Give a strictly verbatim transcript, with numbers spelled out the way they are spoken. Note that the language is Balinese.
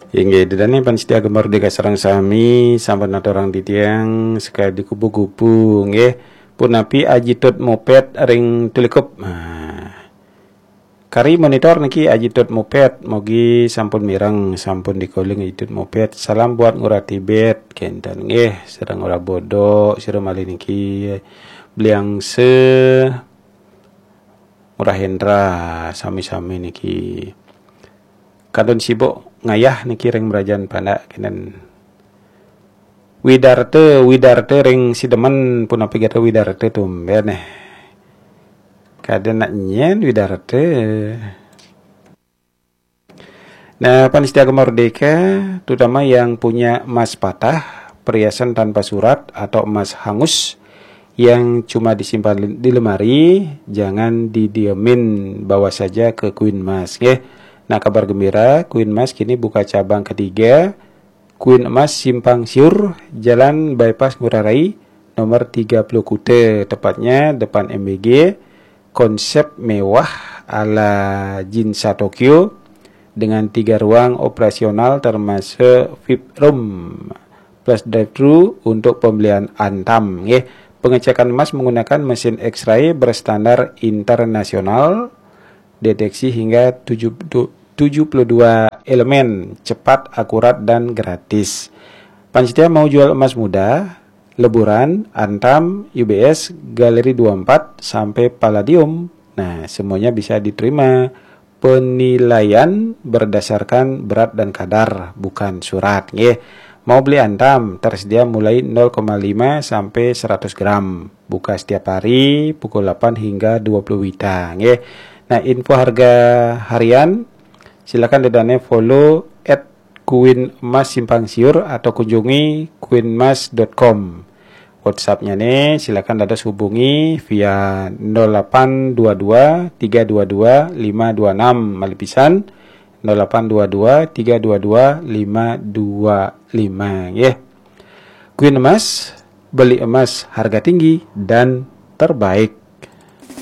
Inggih, ida dané pamiarsa Gema Merdeka sareng sami, sampun aturang titiang sekadi kupu-kupu, nggih. Punapi Aji Tut Moped ring Tulikup? Nah, kari monitor niki Aji Tut Moped, mogi sampun mireng, sampun dikoling Aji Tut Moped. Salam buat Ngurah Tibet, kénten nggih, sareng Ngurah Bodo, sira malih niki Bliangse, Ngurah Hendra, sami-sami niki. Kantun sibuk ngayah niki ring Mrajan Pandak, kénten. Widarte, Widarte ring Sidemen, punapi gatra Widarte, tumbén éh. Kada nak nyén Widarte. Nah, pamiarsa Gema Merdeka, terutama yang punya emas patah, perhiasan tanpa surat atau emas hangus yang cuma disimpan di lemari, jangan didiemin, bawa saja ke Queen Mas, nggih. Nah, kabar gembira, Queen Mas kini buka cabang ketiga, Queen Emas Simpang Siur, Jalan Bypass Ngurah Rai, nomor tiga puluh Kuta, tepatnya depan M B G. Konsep mewah ala Ginza Tokyo dengan tiga ruang operasional termasuk V I P room plus drive-thru untuk pembelian Antam, nggih. Pengecekan emas menggunakan mesin X-ray berstandar internasional, deteksi hingga tujuh, tu- tujuh puluh dua elemen, cepat, akurat, dan gratis. Pamiarsa mau jual emas muda, leburan, Antam, U B S, Galeri dua empat, sampai Palladium. Nah, semuanya bisa diterima. Penilaian berdasarkan berat dan kadar, bukan surat, nggih. Mau beli Antam, tersedia mulai nol koma lima sampai seratus gram. Buka setiap hari pukul delapan hingga dua puluh WITA, nggih. Nah, info harga harian, silakan ida dané follow at Queen Emas Simpang Siur atau kunjungi queen mas dot com. WhatsApp-nya nih, silakan dados hubungi via nol delapan dua dua tiga dua dua lima dua enam, malih pisan, nol delapan dua dua tiga dua dua lima dua lima, nggih. Queen Emas, beli emas harga tinggi dan terbaik.